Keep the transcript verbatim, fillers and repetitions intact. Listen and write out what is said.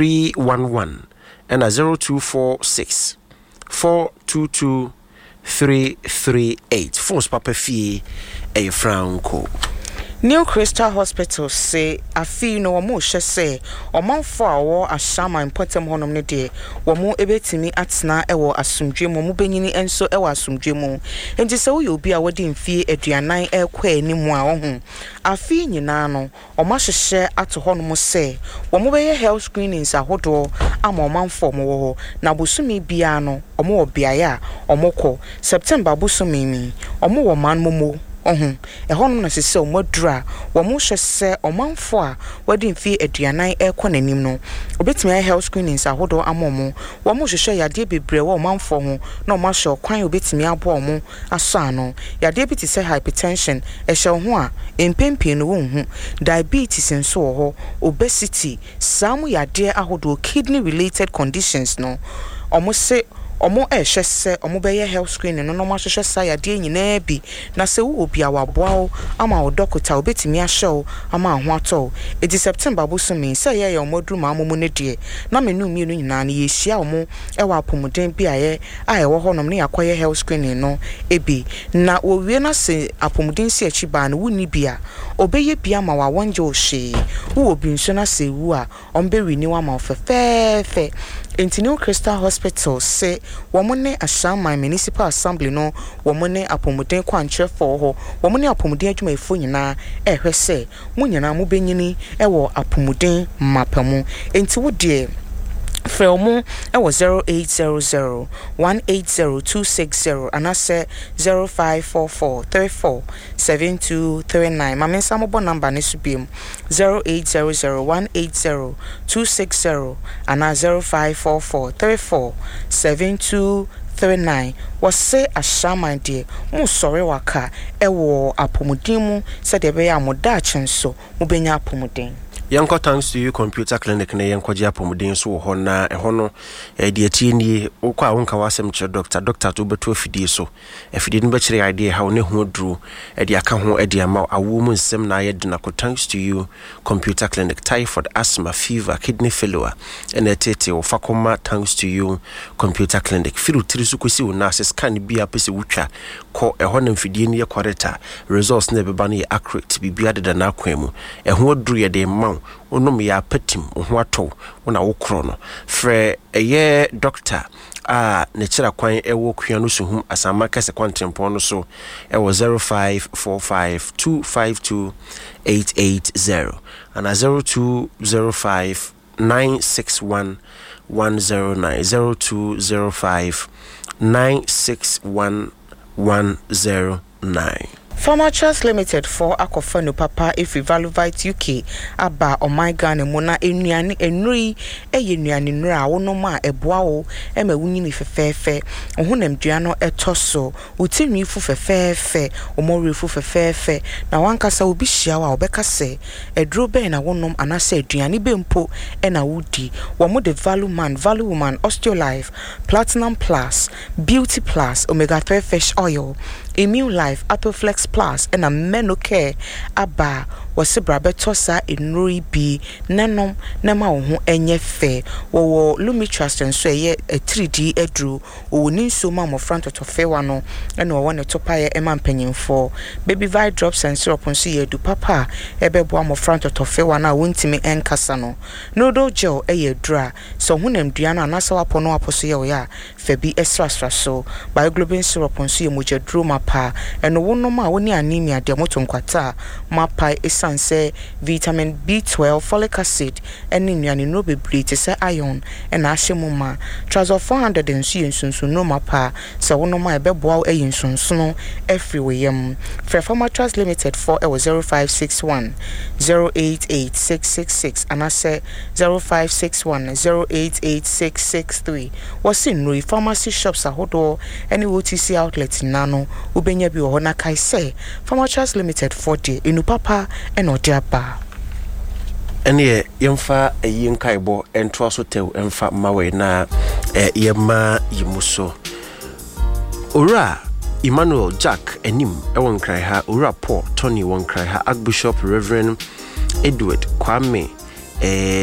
three one one ɛna zero two four six four two two three three eight. Phones papa fie ɛyɛ Franco. New Crystal Hospital se afei no wɔn rehyɛ sɛ ɔmanfoɔ a wɔwɔ Ashaiman mpɔtam hɔnom no deɛ, wɔn bɛtumi atena wɔ asomdwe mu, wɔn bɛnyini nso wɔ asomdwe mu. Nti sɛ woyɛ obi a wɔde mfie aduanan rekɔ anim a, ɔho afei nyinaa no wɔn ahyehyɛ ato hɔnom sɛ wɔn bɛyɛ health screenings ahodoɔ ama ɔmanfoɔ a wɔwɔ hɔ. Na bosome biara no, wɔn wɔ beaeɛ a wɔkɔ. September bosome mi, wɔn wɔ Manmomo. Ɔho ɛhɔnom na sisi sɛ wɔn aduru a wɔn hyɛ sɛ ɔmanfoɔ a wɔde mfie aduanan rekɔ n'anim no, obetumi ayɛ health screenings ahodoɔ ama wɔn. Wɔn hyehyɛ yadeɛ bebree wɔ ɔmanfoɔ ho na wɔn ahyɛ ɔkwan a obetumi aboa wɔn asɔ ano. Yadeɛ bi te sɛ hypertension ɛhyɛ wɔn ho a, mpɛn pii no wɔn ho diabetes nso wɔ hɔ, obesity, saa mu yadeɛ ahodoɔ, kidney related conditions no, wɔn se ɔmo ɛrehwɛ sɛ ɔmo bɛyɛ health screening no na ɔmo ahwehwɛ saa yadeɛ nyinaa bi. Na sɛ wowɔ bi a, waboa wo ama wo dɔkota obetumi ahyɛ wo ama wo ho atɔ wo. Eti September bosome sɛ ɛyɛ yɛ ɔmo aduru maa mo mu no deɛ, na menu mmienu nyinaa no yɛhyia ɔmo ɛwɔ apɔmuden beaeɛ a ɛwɔ hɔnom ne yɛakɔyɛ health screening no ebi. Na wɔwie na sɛ apɔmuden si akyi baa no, wonni bi a, ɔbɛyɛ bi ama wo a wɔngye wo hwee. Wowɔ bi nso na sɛ ewu a, ɔmo bɛrenew ama wo fɛfɛɛfɛ. Nti New Crystal Hospital sɛ wɔn ne Ashaiman Municipal Assembly no, wɔn ne apɔmuden kwankyerɛfoɔ hɔ, wɔn ne apɔmuden adwumayɛfoɔ nyinaa ɛrehwɛ sɛ mo nyinaa mo bɛnyini ɛwɔ apɔmuden mapa mu. Nti wo deɛ, frɛ wɔn ɛwɔ zero eight zero zero one eight zero two six zero anaasɛ zero five four four three four seven two three nine. Maame nsa mobɔ number ne so biom: zero eight zero zero one eight zero two six zero anaa zero five four four three four seven two three nine. Wɔse Ashaiman deɛ, mo sɔre waka ɛwɔ apɔmuden mu sɛdeɛ ɛbɛyɛ a mo daakye nso mobɛnya apɔmuden. Yɛnkɔ Thanks to You Computer Clinic na yɛnkɔgye apɔmuden so wɔ hɔ. Na ɛhɔ no, deɛ tie nie: wokɔ a, wonka w'asɛm kyerɛ doctor. Doctor to wobɛto afidie so, afidie no bɛkyerɛ adeɛ ɛha wo ne ho aduro ɛde aka ho ɛde ama awoɔ mu nsɛm na ayɛ den akɔ Thanks to You Computer Clinic. Typhoid, asthma, fever, kidney failure ɛna ɛtete wo, fa kɔma Thanks to You Computer Clinic. Firi wo tiri so kɔsi wo nan ase, scan bi a pɛ sɛ wotwa kɔ ɛhɔ na mfidie no yɛ correct a, results na ɛbɛba no yɛ accurate. Biribiara deda n'akwan mu. Ɛho aduro yɛde ma wo, wonom yɛ apatim, wo ho atɔ wo na wokorɔ no. Frɛ ɛyɛ doctor a ne kyerɛ kwan ɛwɔ Kua no Suhum Asama Kɛsɛ kwantempɔn no so ɛwɔ zero five four five two five two eight eight zero ana zero two zero five nine six one one zero nine, zero two zero five nine six one one zero nine. Pharmatrust Limited foɔ akɔfa no papa efiri Valuvite U K aba ɔman Ghana mu. Na nnuane nnuro yi yɛ nnuane nnuro a wonom a, ɛboa wo ma wonyini fɛfɛɛfɛ, wo honamdua no ɛtɔ so, wo tirinwi fu fɛfɛɛfɛ, wo mmɔwerɛ fu fɛfɛɛfɛ, na wankasa obi hyia wo a, wɔbɛka sɛ aduro bɛn na wonom anaasɛ aduane bɛn mpo ɛna wodi. Wɔn de Value Man, Value Woman, Osteolife, Platinum Plus, Beauty Plus, Omega three Fish Oil, Immune Life, Atoflex Plus ɛna Menocare aba. Wɔsi bra bɛtɔ saa nnuro yi bi nanom na ma wo ho nyɛ fɛ. Wɔwɔ Lumitrust nso, ɛyɛ atiridii aduro. Wɔwɔ ne nsuo ma mmɔfra ntɔtɔfewa no, ɛna wɔwɔ ne topaeɛ ɛma mpanyinfoɔ. Baby Vi Drops and Syrup nso yɛ adu papa a ɛbɛboa mmɔfra ntɔtɔfewa no a wɔntumi nkasa no. Noodle Gel ɛyɛ aduro a sɛ ɔhonam dua no anaasɛ wapɔ no wapɔ so yɛ ɔyɛ a, fa bi srasra so. Bioglobin syrup nso yɛ mogyaduro mapa. Ɛno wonom a, wo ne anemia deɛ, moto nkwata a moapae, ɛsiane sɛ vitamin B twelve, folic acid ɛne nnuane nnuro bebree te sɛ iron ɛna ahyɛ mu ma. Trazol four hundred nso yɛ nsonsonnuro mapa. Sɛ wonom a, ɛbɛboa wo ayi nsonsono afiri wo yam. Frɛ Pharmatrust Limited foɔ ɛwɔ zero five six one zero eight eight six six six anaasɛ zero five six one zero eight eight six six three. Wɔsi nnuro yi, pharmacy shops ahodoɔ ɛne O T C outlet nyinaa no, wobɛnya bi wɔ hɔ. Na kae sɛ Pharmatrust Limited foɔ deɛ, enu papa ɛna ɔde aba. Ɛneɛ yɛmfa ɛyi nkaebɔ ɛntoa so tɛw ɛmfa mma wei na ɛ, yɛma yi mu so. Owura Emmanuel Jack anim ɛwɔ Nkran ha, Owura Paul Tony wɔ Nkran ha, Archbishop Reverend Edward Kwame eh,